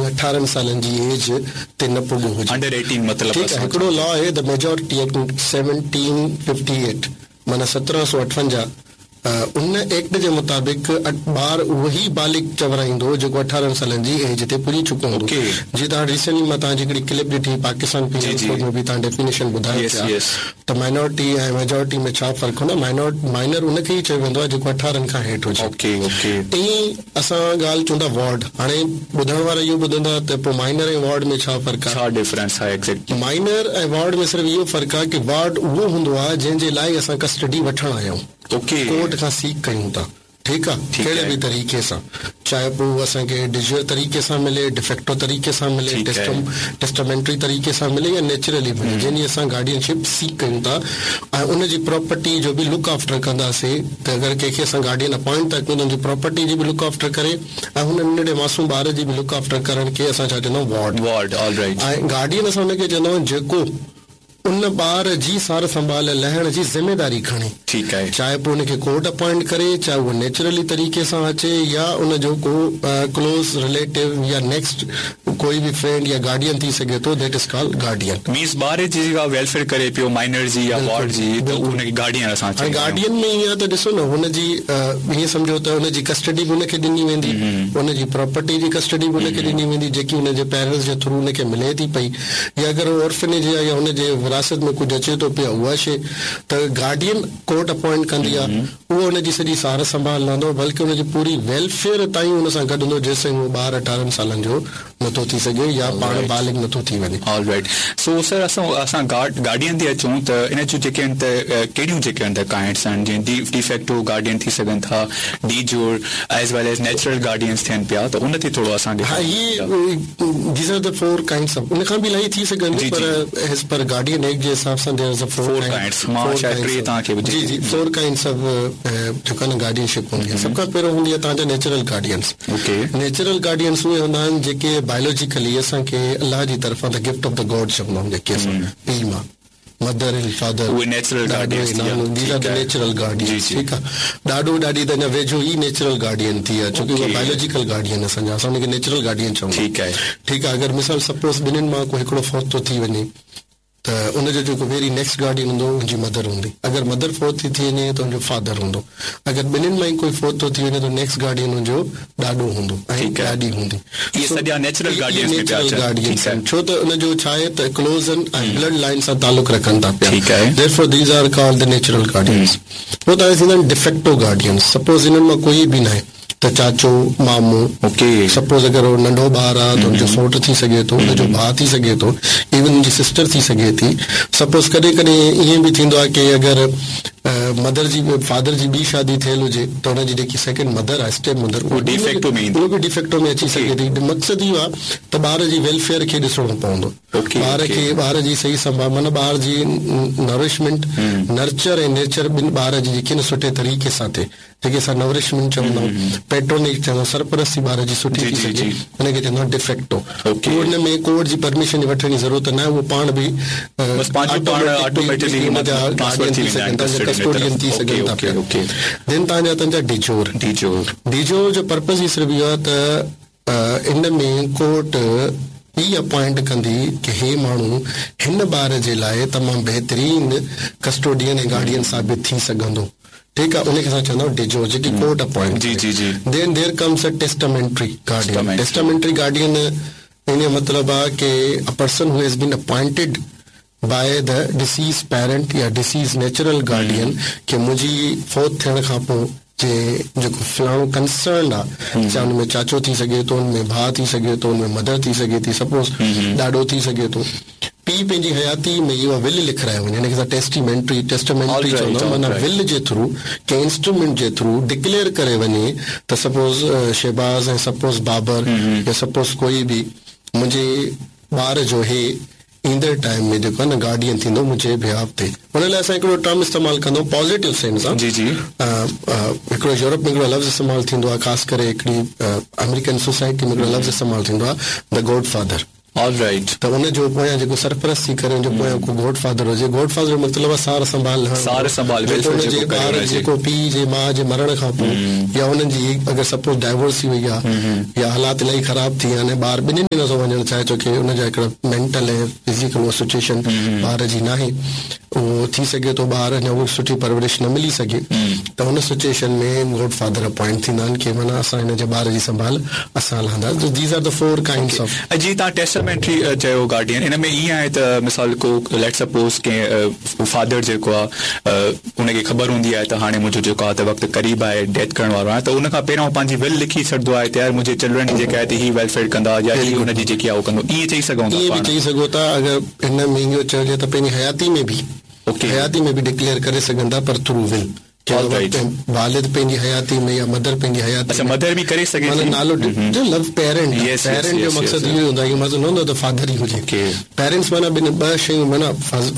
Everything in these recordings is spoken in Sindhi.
18 سالن جي ايج تي نه پڳو هجي. انڊر ايٽين مطلب ٺيڪ آهي هڪڙو لا آهي the majority act 1758 معنيٰ 1758 ان ايڪٽ جي مطابق ٻار اهو ئي بالغ چورائيندو جيڪو 18 سالن جي ايج تي پڄي چڪو هوندو. جيئن توهان ريسينٽلي مان توهان جي هڪڙي ڪلپ ڏٺي پاڪستان پينل ڪوڊ ۾ به توهان ڊيفينيشن ٻڌايو پيا ته مائنارٽي ۽ ميجارٽي ۾ ڇا فرق هوندو آهي. مائنر ان کي ئي چيو ويندو آهي جيڪو 18 کان هيٺ هجي. ائين اسان ڳالهه چون ٿا وارڊ هاڻي ٻڌڻ وارا اهو ٻڌندا ته پوء مائنر ۽ وارڊ ۾ ڇا فرق آهي؟ ڇا ڊفرنس آهي ايگزيڪٽلي؟ مائنر ۽ وارڊ ۾ صرف اهو فرق آهي ڪي وارڊ اهو هوندو آهي جنهن جي لاء اسان ڪسٽڊي وٺڻ آيا آهيون. ڪورٽ کان سيڪ ڪيون ٿا ٺيڪ آ ڪهڙي به طريقي سان چاهي پوء اهو اسان کي ڊيجور طريقي سان ملي ڊيفيڪٽو طريقي سان ملي ٽيسٽامينٽري طريقي سان ملي يا نيچرلي ملي جنهن جي اسان گارڊين شپ سيڪ ڪيون ٿا ۽ ان جي پراپرٽي جو به لڪ آفٽر ڪنداسي ته اگر ڪنهن کي اسان گارڊين اپوائنٽ ٿا ڪيون ته ان جي پراپرٽي جي به لڪ آفٽر ڪري ۽ هن ننڍڙي معصوم ٻار جي به لڪ آفٽر ڪرڻ کي اسان ڇا چوندا آهيون ward ward all right ۽ guardian اسان ان کي چوندا آهيون جيڪو ان ٻار جي سار سنڀال لهڻ جي ذميداري کڻي. ٺيڪ آهي. چاهي پوء ان کي ڪورٽ اپوائنٽ ڪري، چاهي اهو نيچرلي طريقي سان اچي يا ان جو ڪو ڪلوز رليٽو يا نيڪسٽ ڪوئي به فرينڊ يا گارڊين ٿي سگهي ٿو that is called guardian. Means ٻار جي جيڪا ويلفيئر ڪري پيو مائنر جي يا وارڊ جي ته اهو ان کي گارڊين اسان هاڻي چوندا آهيون. گارڊين ۾ ائين آهي ته ڏسو نه هن جي ائين سمجهو ته ان جي ڪسٽڊي به ان کي ڏني ويندي، ان جي پراپرٽي جي ڪسٽڊي به ان کي ڏني ويندي جيڪي ان جي پيرنٽس جي ٿرو ان کي ملي ٿي پئي. يا اگر هو اورفنيج يا يا هن جي وراثت ۾ ڪجهه اچي ٿو پيو اها شيء ته گارڊين ڪورٽ اپوائنٽ ڪندي آهي اهو هن جي سڄي سار سنڀال لهندو بلڪه ان جي پوري ويلفيئر تائين هن سان گڏ هوندو جيستائين اهو ٻار 18 سالن جو نٿو ٿي سگهي يا پاڻ بالغ نٿو ٿي وڃي. آل رائيٽ سو سر اسان اسان گارڊ گارڊين تي اچون ته ان جون جيڪي آهن ته ڪهڙيون جيڪي آهن ته ڪائنڊس آهن جيئن ڊي ڊيفيڪٽو گارڊين ٿي سگهن ٿا de jure as well as natural guardians ٿين پيا ته ان تي ٿورو اسان کي ها هي these are the four kinds of ان کان به الاهي ٿي سگهن ٿيون پر ايز پر گارڊين ايڪٽ جي حساب سان there is a four kinds مان شايد ٽي توهان کي جي جي فور ڪائنڊس آف جيڪو آهي نه گارڊين شپ هوندي آهي سڀ کان پهريون هوندي آهي توهان جا نيچرل گارڊينس نيچرل گارڊينس اهي هوندا آهن جيڪي بايولوجيڪلي اسان کي الله جي طرفان the gift of the God چوندا آهيون جيڪي اسان پيء ماء مدر اينڊ فادر اهي نيچرل گارڊينس ٿي ويا these are the natural guardians ٺيڪ آ ڏاڏو ڏاڏي ته اڃا ويجهو ئي نيچرل گارڊين ٿي ويا ڇوڪه اهي بايولوجيڪل گارڊين اسان جا اسان ان کي نيچرل گارڊين چوندا ٺيڪ آهي ٺيڪ آ اگر مثال سپوز ٻنهين مان ڪو هڪڙو فوت ٿو ٿي وڃي ته ان جو جيڪو ويري نيڪسٽ گارڊين هوندو ان جي مدر هوندي اگر مدر فوت ٿي ٿي وڃي ته ان جو فادر هوندو اگر ٻنهين مان ئي ڪوئي فوت ٿو ٿي وڃي ته نيڪسٽ گارڊين ان جو ڏاڏو هوندو ۽ ڏاڏي هوندي. اهي سڄا نيچرل گارڊينس ۾ پيا اچن. ڇو ته ان جو ڇا آهي ته ڪلوز آهن ۽ بلڊ لائين سان تعلق رکن ٿا پيا. Therefore these are called the natural guardians. پوء توهان ٿيندا آهن ڊيفيڪٽو گارڊينس. سپوز انهن مان ڪوئي به ناهي ته چاچو، مامو، سپوز اگر هو ننڍو ٻار آهي ته ان جو سئوٽ ٿي سگهي ٿو، ان جو ڀاء ٿي سگهي ٿو، ايون ان جي سسٽر ٿي سگهي ٿي. سپوز ڪڏهن ڪڏهن ائين به ٿيندو آهي ڪي اگر مدر جي فادر جي ٻي شادي ٿيل هجي ته ان جي جيڪي سيڪنڊ مدر آهي اسٽيپ مدر اهو ڊيفيڪٽو ۾ ايندي اهو به ڊيفيڪٽو ۾ اچي سگهي ٿي مقصد اهو آهي ته ٻار جي ويلفيئر کي ڏسڻو پوندو ٻار کي ٻار جي صحيح سنڀال معنيٰ ٻار جي نرشمينٽ نرچر ۽ نيچر ٻن ٻار جي جيڪي نه سٺي طريقي سان ٿئي جيڪي اسان نورشمينٽ چوندا آهيون، پيٽرونيج چوندا آهيون، سرپرستي ٻار جي سٺي ٿي سگهي ان کي چوندا آهيون ڊيفيڪٽو. اهو ان ۾ ڪورٽ جي پرميشن وٺڻ جي ضرورت ناهي اهو پاڻ به آٽوميٽڪ ان جا گارڊين ٿي سگهن ٿا ڪسٽوڊين ٿي سگهن ٿا پيا. دين توهان جا تنهنجا ڊيجور. ڊيجور جو پرپز ئي صرف اهو آهي ته ان ۾ ڪورٽ ئي اپوائنٽ ڪندي ڪي هي ماڻهو هن ٻار جي لاء تمام بهترين ڪسٽوڊين ۽ گارڊين ثابت ٿي سگهندو. ٺيڪ آ ان کي اسان چوندا آهيون ڊيجور جيڪي ڪورٽ اپوائنٽ جي جي جي then there comes a testamentary guardian testamentary guardian ان جو مطلب آ ڪي a person who has been appointed by the deceased parent يا ڊسيز نيچرل گارڊين ڪي منهنجي فوت ٿيڻ کان پوء جي جيڪو فلاڻو ڪنسرنڊ آ چاهي ان ۾ چاچو ٿي سگهي ٿو ان ۾ ڀاء ٿي سگهي ٿو ان ۾ مدر ٿي سگهي ٿي سپوز ڏاڏو ٿي سگهي ٿو پيء پنهنجي حياتيء ۾ اها ول لکرائي وڃي، ان کي اسان ٽيسٽيمينٽري، Testamentary، چوندا آهيون، معنيٰ ول جي ٿرو، ڪنهن انسٽرومينٽ جي ٿرو ڊڪليئر ڪري وڃي ته سپوز شهباز ۽ سپوز بابر يا سپوز ڪوئي به منهنجي ٻار جو هي ايندڙ ٽائيم ۾ جيڪو آهي نه گارڊين ٿيندو منهنجي بيهاف تي. ان لاء اسان هڪڙو ٽرم استعمال ڪندا آهيون پازيٽو سينس سان. هڪڙو يورپ ۾ هڪڙو لفظ استعمال ٿيندو آهي خاص ڪري هڪڙي آمريڪن سوسائٽي ۾ هڪڙو لفظ استعمال ٿيندو آهي the God father. All right. ته ان جو پويان جيڪو سرپرستي ڪري ان جو پويان ڪو گاڊ فادر هجي. گاڊ فادر جو مطلب آهي سار سنڀال لهڻ سار سنڀال جيڪو ان جي ٻار جيڪو پيء جي ماء جي مرڻ کان پوء يا انهن جي اگر سپوز ڊائيورس ٿي وئي آهي يا حالات الاهي خراب ٿي ويا آهن ۽ ٻار ٻنهين ۾ نٿو وڃڻ چاهي ڇو ڪي ان جا هڪڙا مينٽل ۽ فزيڪل اها سچوئيشن ٻار جي ناهي اهو ٿي سگهي ٿو ٻار اڃا اها سٺي پرورش نه ملي سگهي ته ان سچوئيشن ۾ گاڊ فادر اپوائنٽ ٿيندا آهن ڪي معنيٰ اسان هن جي ٻار جي سنڀال اسان لهنداسين these are the four kinds of. ۽ جي توهان ٽيسٽامينٽري چيو گارڊين ان ۾ ائين آهي ته مثال ڪو ليٽ سپوز ڪنهن فادر جيڪو آهي ان کي خبر هوندي آهي ته هاڻي منهنجو جيڪو آهي ته وقت قريب آهي ڊيٿ ڪرڻ وارو آهيان ته ان کان پهريان هو پنهنجي ول لکي ڇڏندو آهي ته يار منهنجي چلڊرن جيڪا آهي ته هي ويلفيئر ڪندا يا هي ان جي جيڪي آهي اهو ڪندو ائين چئي سگهون ٿا ائين به چئي سگهو ٿا اگر هن ۾ اهو چئجي ته پنهنجي حياتي ۾ به حياتي ۾ به ڊڪليئر ڪري سگهن ٿا پر ٿرو ول والد پنهنجي حياتي ۾ يا مدر پنهنجي حياتي اڇا مدر به ڪري سگهي ٿي معنيٰ نالو جو لفظ پيرنٽ پيرنٽ جو مقصد اهو هوندو آهي مطلب نه هوندو ته فادر ئي هجي پيرنٽس معنيٰ ٻن ٻه شيون معنيٰ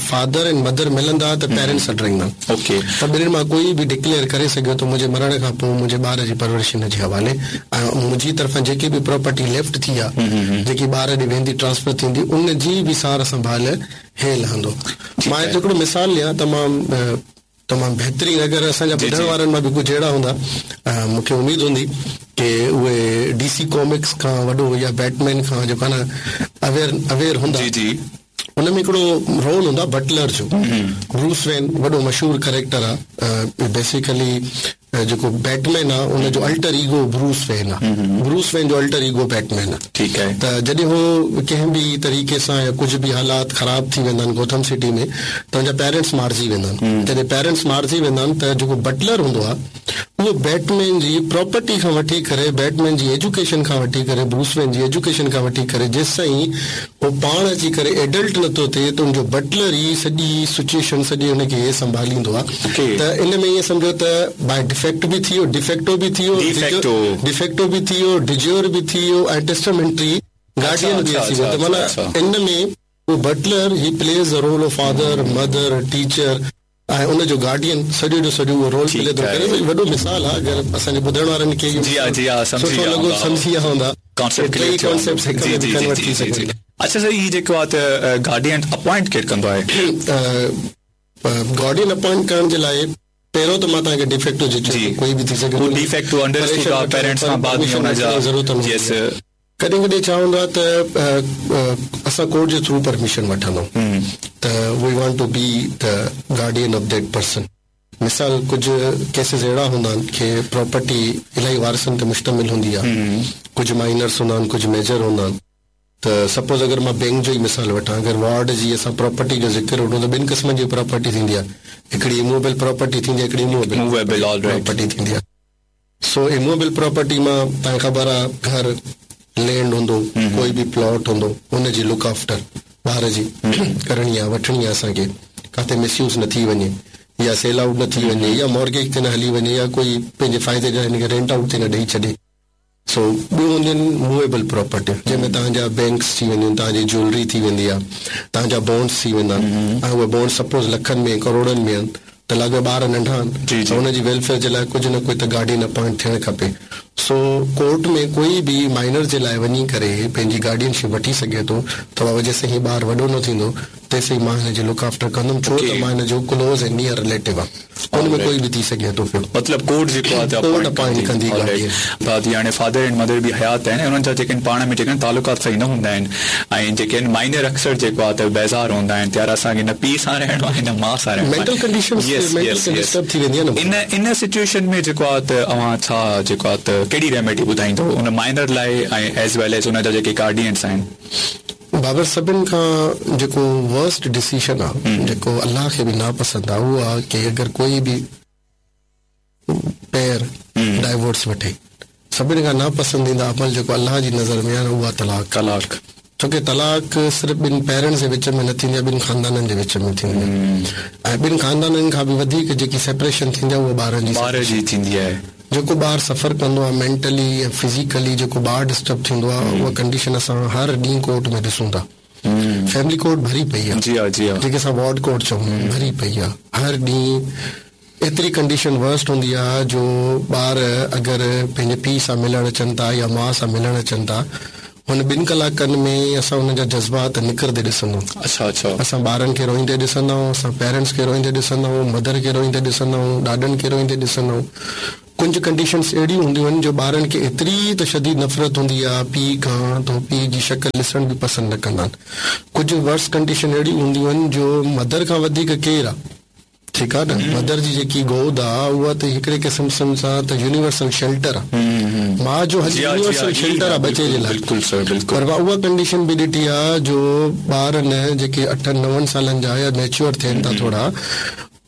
فادر ۽ مدر ملندا ته پيرنٽس سڏرائيندا ته ٻنهين مان ڪوئي به ڊڪليئر ڪري سگهيو ته منهنجي مرڻ کان پوء منهنجي ٻار جي پرورش هن جي حوالي ۽ منهنجي طرفان جيڪي به پراپرٽي ليفٽ ٿي آهي جيڪي ٻار ڏي ويندي ٽرانسفر ٿيندي ان جي به سار سنڀال هي لهندو مان هتي هڪڙو مثال ڏيان تمام تمام بهترين اگر اسان جا ٻڌڻ وارن مان به ڪجهه اهڙا هوندا مون کي اميد هوندي ڪي اهي ڊي سي ڪامڪس کان وڏو يا بيٽ مين کان جيڪو آهي نه اويئر اويئر هوندا جي جي ان ۾ هڪڙو رول هوندو آهي بٽلر جو بروس وين وڏو مشهور ڪريڪٽر آهي بيسيڪلي جيڪو بيٽ مين آهي ان جو الٽر ايگو بروس وين آهي بروس وين جو الٽر ايگو بيٽ مين آهي ٺيڪ آهي ته جڏهن هو ڪنهن به طريقي سان يا ڪجهه به حالات خراب ٿي ويندا آهن گوٿم سٽي ۾ ته ان جا پيرنٽس مارجي ويندا آهن جڏهن پيرنٽس مارجي ويندا آهن ته جيڪو بٽلر هوندو آهي اهو بيٽ مين جي پراپرٽي کان وٺي ڪري بيٽ مين جي ايجوڪيشن کان وٺي ڪري بروس وين جي ايجوڪيشن کان وٺي ڪري جيستائين هو پاڻ اچي ڪري ايڊلٽ نٿو ٿئي ته ان جو بٽلر ئي سڄي سچوئيشن سڄي ان کي سنڀاليندو آهي ته ان ۾ ائين سمجهو ته باء ڊفيڪٽ به ٿي ويو ڊفيڪٽو به ٿي ويو ڊفيڪٽو به ٿي ويو ڊجور به ٿي ويو ۽ ٽيسٽامينٽري گارڊين به اچي ويو ته معنيٰ ان ۾ اهو butler he plays the role of father, mother, teacher ۽ ان جو گارڊين سڄو جو سڄو اهو رول پلي ٿو ڪري اهو وڏو مثال آهي اگر اسان جي ٻڌڻ وارن کي اهو سٺو لڳو سمجهي ويا هوندا ٽئي ڪانسيپٽس هڪ ۾ به ڪنورٽ ٿي سگهن ٿا. اڇا سر هي جيڪو آهي ته گارڊين اپوائنٽ ڪير ڪندو آهي؟ گارڊين اپوائنٽ ڪرڻ جي لاء پهريون ته مان توهان کي ڊيفيڪٽو جو چيو ته ڪوئي به ٿي سگهي ٿو ڊيفيڪٽو انڊرسٽوڊ آ پيرنٽس کان بعد ۾ ان جا ضرورت نه هوندي آهي ڪڏهن ڪڏهن ڇا هوندو آهي ته اسان ڪورٽ جي ٿرو پرميشن وٺندا آهيون ته we want to be the guardian of that person مثال ڪجهه ڪيسز اهڙا هوندا آهن ڪي پراپرٽي الاهي وارثن تي مشتمل هوندي آهي ڪجهه مائنرس هوندا آهن ڪجهه ميجر هوندا آهن ته سپوز اگر مان بينڪ جو ئي مثال وٺان اگر وارڊ جي اسان پراپرٽي جو ذڪر وٺون ته ٻن قسمن جي پراپرٽي ٿيندي آهي هڪڙي اموويبل پراپرٽي ٿيندي آهي هڪڙي اموويبل پراپرٽي ٿيندي آهي سو اموويبل پراپرٽي مان توهان کي خبر آهي گهر لينڊ هوندو ڪوئي به پلاٽ هوندو ان جي لڪ آفٽر ٻار جي ڪرڻي آهي وٺڻي آهي اسان کي ڪاٿي مس يوز نه ٿي وڃي يا سيل آئوٽ نه ٿي وڃي يا مارگيج تي نه هلي وڃي يا ڪوئي پنهنجي فائدي لاء هن کي رينٽ آئوٽ تي نه ڏئي ڇڏي. سو ٻيون هونديون آهن موويبل پراپرٽيون جنهن ۾ توهان جا بينڪس ٿي وينديون آهن، توهان جي جيولري ٿي ويندي آهي، توهان جا بانڊس ٿي ويندا آهن ۽ اهي بانڊس سپوز لکن ۾ ڪروڙن ۾ آهن ته لاڳو ٻار ننڍا آهن ته ان جي ويلفيئر جي لاء ڪجهه نه ڪجهه ته گارڊين اپوائنٽ ٿيڻ کپي. سو ڪورٽ ۾ ڪوئي به مائنر جي لاء وڃي ڪري پنهنجي گارڊين شپ وٺي سگهي ٿو ته بابا جيسين هي ٻار وڏو نه ٿيندو تيسين مان هن جي لڪ آفٽر ڪندم ڇو ته مان هن جو ڪلوز ۽ نيئر رليٽو آهيان. ان ۾ ڪوئي به ٿي سگهي ٿو پيو. مطلب ڪورٽ جيڪو آهي ته ڪورٽ اپائنٽ ڪندي گارڊين. دادي هاڻي فادر اينڊ مدر به حيات آهن ۽ انهن جا جيڪي آهن پاڻ ۾ جيڪي آهن تعلقات صحيح نه هوندا آهن ۽ جيڪي آهن مائنر اڪثر جيڪو آهي ته بيزار هوندا آهن ته يار اسان کي نه پيء سان رهڻو آهي نه ماء سان رهڻو آهي مينٽل ڪنڊيشن مينٽل ڊسٽرب ٿي ويندي آهي نه ان ان سچوئيشن ۾ جيڪو آهي ته اوهان ڇا جيڪو آهي ته ڪهڙي ريميڊي ٻڌائيندو ان مائنر لاء ۽ ايز ويل ايز ان جا جيڪي گارڊينس آهن. بابر سڀن کان جيڪو ورسٽ ڊسيشن آ جيڪو الله کي به ناپسند آ اهو آ ڪي اگر ڪوئي به پيئر ڊائيورس وٺي سڀن کان ناپسنديده عمل جيڪو الله جي نظر ۾ آ نه اهو آ طلاق طلاق ڇو ڪي طلاق صرف ٻن پيرنٽس جي وچ ۾ نه ٿيندي آ ٻن خاندانن جي وچ ۾ ٿيندي آ ۽ ٻن خاندانن کان به وڌيڪ جيڪي سيپريشن ٿيندي آ اهو ٻارن جي ٻار جي ٿيندي آهي. جيڪو ٻار سفر ڪندو آهي مينٽلي ۽ فزيڪلي جيڪو ٻار ڊسٽرب ٿيندو آهي اها ڪنڊيشن اسان هر ڏينهن ڪورٽ ۾ ڏسون ٿا فيملي ڪورٽ ڀري پئي آهي جي ها جي ها جيڪي اسان وارڊ ڪورٽ چئون ڀري پئي آهي هر ڏينهن ايتري ڪنڊيشن ورسٽ هوندي آهي جو ٻار اگر پنهنجي پيء سان ملڻ اچن ٿا يا ماء سان ملڻ اچن ٿا هن ٻن ڪلاڪن ۾ اسان انهن جا جذبات نڪرندي ڏسندا آهيون. اڇا اڇا. اسان ٻارن کي روئيندي ڏسندا آهيون، اسان پيرنٽس کي روئيندي ڏسندا آهيون، مدر کي روئيندي ڏسندا آهيون، ڏاڏن کي روئيندي ڏسندا آهيون. ڪجهه ڪنڊيشنس اهڙيون هونديون آهن جو ٻارن کي ايتري ته شديد نفرت هوندي آهي پيء کان ته هو پيء جي شڪل ڏسڻ به پسند نه ڪندا آهن. ڪجهه ورس ڪنڊيشن اهڙيون هونديون آهن جو مدر کان وڌيڪ ڪير آهي؟ ٺيڪ آ نه مدر جي جيڪي گود آ اها ته هڪڙي قسم سان ته يونيورسل شيلٽر آ ماء جو هنڌ يونيورسل شيلٽر آ ٻچي جي لاء بلڪل سر بلڪل پر مان اها ڪنڊيشن به ڏٺي آ جو ٻار نه جيڪي اٺن نون سالن جا يا ميچوئر ٿين ٿا ٿورا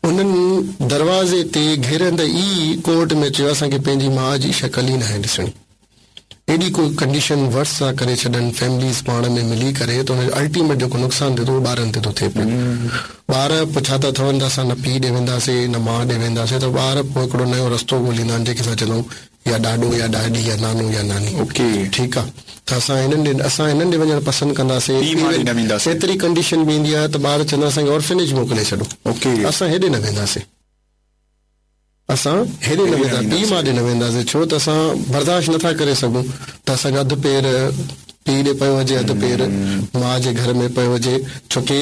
انهن دروازي تي گهرندي ئي ڪورٽ ۾ چيو اسان کي پنهنجي ماء جي شڪل ئي ناهي ڏسڻي. ايڏي ڪو ڪنڊيشن ورس ٿا ڪري ڇڏن فيمليز پاڻ ۾ ملي ڪري ته ان جو الٽيميٽ جيڪو نقصان ٿئي ٿو اهو ٻارن تي ٿو ٿئي پيو. ٻار پوء ڇا ٿا ٿون ته اسان نه پيء ڏي وينداسي نه ماء ڏي وينداسي ته ٻار پوء هڪڙو نيو رستو ڳوليندا آهن جنهن کي اسان چوندا آهيون يا ڏاڏو يا ڏاڏي يا نانو يا ناني. اوڪي. ٺيڪ آ ته اسان هنن ڏي اسان هنن ڏي وڃڻ پسند ڪنداسي. پيء ماء ڏي نه وينداسي. ايتري ڪنڊيشن به ايندي آهي ته ٻار چوندا اسان کي اورفنيج موڪلي ڇڏو. اوڪي. اسان هيڏي نه وينداسي. اسان هيڏي نه ويندا، پيء ماء ڏي نه وينداسين، ڇو ته اسان برداشت نه ٿا ڪري سگهون ته اسان جو اڌ پير پيء ڏي پيو هجي، اڌ پير ماء جي گهر ۾ پيو هجي، ڇو ڪي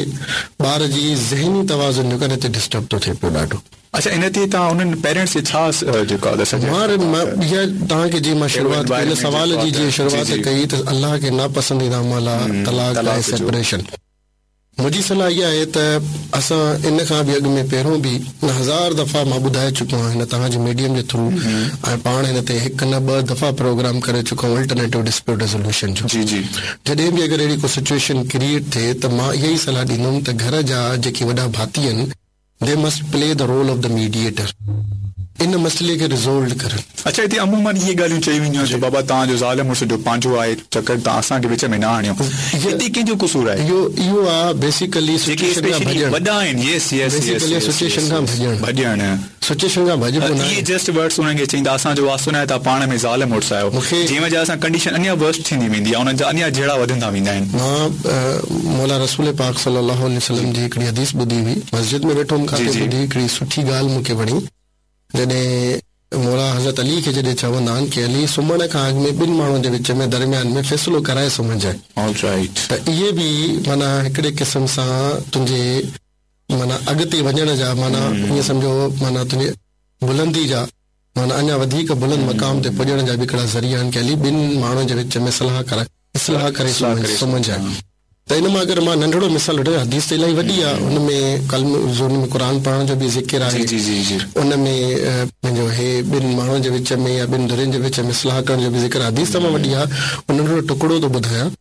ٻار جي ذهني توازن جيڪو آهي نه هتي ڊسٽرب ٿو ٿئي پيو ڏاڍو. اڇا ان تي توهان انهن پيرنٽس کي ڇا جيڪو آهي سجيسٽ ڪندا ته. اها توهان کي جيئن مان شروعات ڪئي ان سوال جي جيئن شروعات ڪئي ته الله کي ناپسنديده عمل آهي طلاق ۽ سيپريشن. منهنجي صلاح اها آهي ته اسان ان کان به اڳ ۾ پهريون به هزار دفعا مان ٻڌائي چڪو آهيان هن توهان جي ميڊيم جي ٿرو ۽ پاڻ هن تي هڪ نه ٻه دفعا پروگرام ڪري چڪو آهيان الٽرنيٽو ڊسپيوٽ ريزوليوشن جو جي جي. جڏهن به اگر اهڙي ڪو سچوئيشن ڪريئيٽ ٿئي ته مان اها ئي صلاح ڏيندم ته گهر جا جيڪي وڏا ڀاتي آهن They must play the role of the mediator ان مسئلي کي ريزولڊ ڪرن. اڇا هتي عموماً اهي ڳالهيون چيون وينديون آهن ته بابا توهان جو زال مڙس جو پنهنجو آهي چڪر توهان اسان کي وچ ۾ نه آڻيو هتي ڪنهن جو قصور آهي؟ اهو اهو آ بيسيڪلي جيڪي سچوئيشن کان اسپيشلي ڀڄڻ وڏا آهن yes yes yes basically yes situation yes کان ڀڄڻ ڀڄڻ سچوئيشن کان ڀڄبو ناهي. اهي جسٽ ورڊس انهن کي چئيندا اسان جو واسطو ناهي توهان پاڻ ۾ زال مڙس آهيو مون کي جنهن وجه سان ڪنڊيشن اڃا ورسٽ ٿيندي ويندي آهي انهن جا اڃا جهيڙا وڌندا ويندا آهن. مان مولا رسول پاڪ صلي الله عليه وسلم جي هڪڙي حديث ٻڌي هئي مسجد ۾ ويٺو هوم جي ڪاٿي جي. ٻڌي هڪڙي سٺي ڳالهه مون کي وڻي جڏهن مولا حضرت علي کي جڏهن چوندا آهن ڪي علي سمهڻ کان اڳ ۾ ٻن ماڻهن جي وچ ۾ درميان ۾ فيصلو ڪرائي سمهجانء All right. ته اهي به معنيٰ هڪڙي قسم سان تنهنجي معنيٰ اڳتي وڃڻ جا معنيٰ ائين سمجهو معنيٰ تنهنجي بلندي جا معنيٰ اڃا وڌيڪ بلند مقام تي پڄڻ جا به هڪڙا ذريعا آهن ڪي علي ٻن ماڻهن جي وچ ۾ صلاح ڪرائي اصلاح ڪري سمهجانء ته ان مان اگر مان ننڍڙو مثال وٺان حديث ته الاهي وڏي آهي ان ۾ ڪلمو ان ۾ قرآن پڙهڻ جو به ذڪر آهي ان ۾ پنهنجو هي ٻن ماڻهن جي وچ ۾ يا ٻن ڌرين جي وچ ۾ اصلاح ڪرڻ جو به ذڪر آهي حديث تمام وڏي آهي ان ننڍڙو ٽڪڙو ٿو ٻڌايان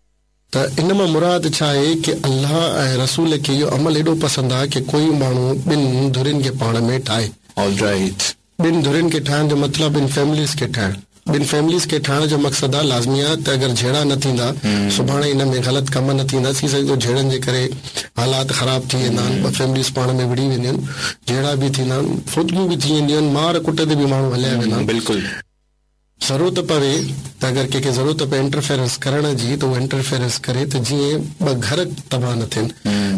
ته ان مان مراد ڇا آهي ڪي الله ۽ رسول کي اهو عمل ايڏو پسند آهي ڪي ڪوئي ماڻهو ٻن ڌرين کي پاڻ ۾ ٺاهي. All right. ٻن ڌرين کي ٺاهڻ جو مطلب ٻن فيمليز کي ٺاهڻ. ٻن فيمليز کي ٺاهڻ جو مقصد آهي لازمي آهي ته اگر جهيڙا نه ٿيندا سڀاڻي ان ۾ غلط ڪم نه ٿيندا ٿي سگهي ٿو جهيڙن جي ڪري حالات خراب ٿي ويندا آهن ٻه فيمليز پاڻ ۾ وڙهي وينديون آهن جهيڙا به ٿيندا آهن فوتگيون به ٿي وينديون آهن مار ڪٽ تي به ماڻهو هليا ويندا آهن. بلڪل. ضرورت پوي ته اگر ڪنهن کي ضرورت پئي انٽرفيرنس ڪرڻ جي ته اهو انٽرفيرنس ڪري ته جيئن ٻه گهر تباهه نه ٿين،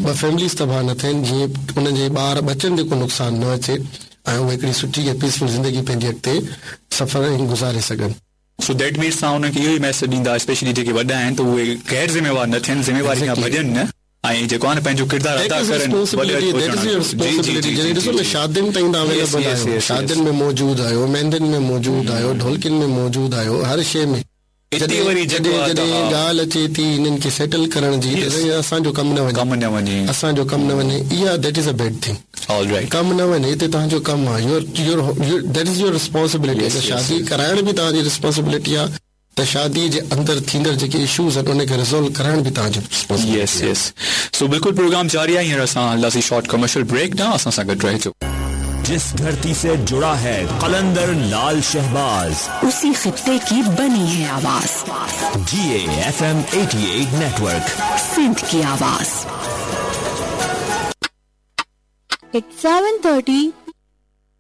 ٻه فيمليز تباهه نه ٿين، جيئن انهن جي ٻار ٻچن تي ڪو نقصان نه اچي ۽ اهي هڪڙي سٺي ۽ پيسفل زندگي پنهنجي اڳتي سفر ۽ گذاري سگهن. سو that means توهان انهن کي اهو ئي ميسيج ڏيندا اسپيشلي جيڪي وڏا آهن ته اهي غير ذميوار نه ٿين، ذميواري کان ڀڄن نه. ۽ جيڪو آهي نه پنهنجو ڪردار ادا ڪرن وڏي That is your responsibility جڏهن ڏسو نه شادين تائين توهان اويليبل آهيو شادين ۾ موجود آهيو مهندين ۾ موجود آهيو ڍولڪين ۾ موجود آهيو هر شيء ۾ جڏهن وري جڏهن جڏهن ڳالهه اچي ٿي هنن کي سيٽل ڪرڻ جي ته اسان جو ڪم نه وڃي ڪم نه وڃي اسان جو ڪم نه وڃي اها that is a bad thing all right ڪم نه وڃي هتي توهان جو ڪم آهي your your that is your responsibility شادي ڪرائڻ به توهان جي ريسپانسبلٽي آهي ته شادي جي اندر ٿيندڙ جيڪي اشوز آهن ان کي ريزولو ڪرائڻ به توهان جي ريسپانسبلٽي يس آهي. يس سو بلڪل پروگرام جاري آهي هينئر اسان هلنداسين شارٽ ڪمرشل بريڪ ڏانهن اسان سان گڏ رهجو. جس دھرتي سي جڙا هي قلندر لال شهباز. اسي خطي ڪي بني هي آواز. جي اي ايف ايم 88 نيٽورڪ. سنڌ ڪي آواز. It's 7:30.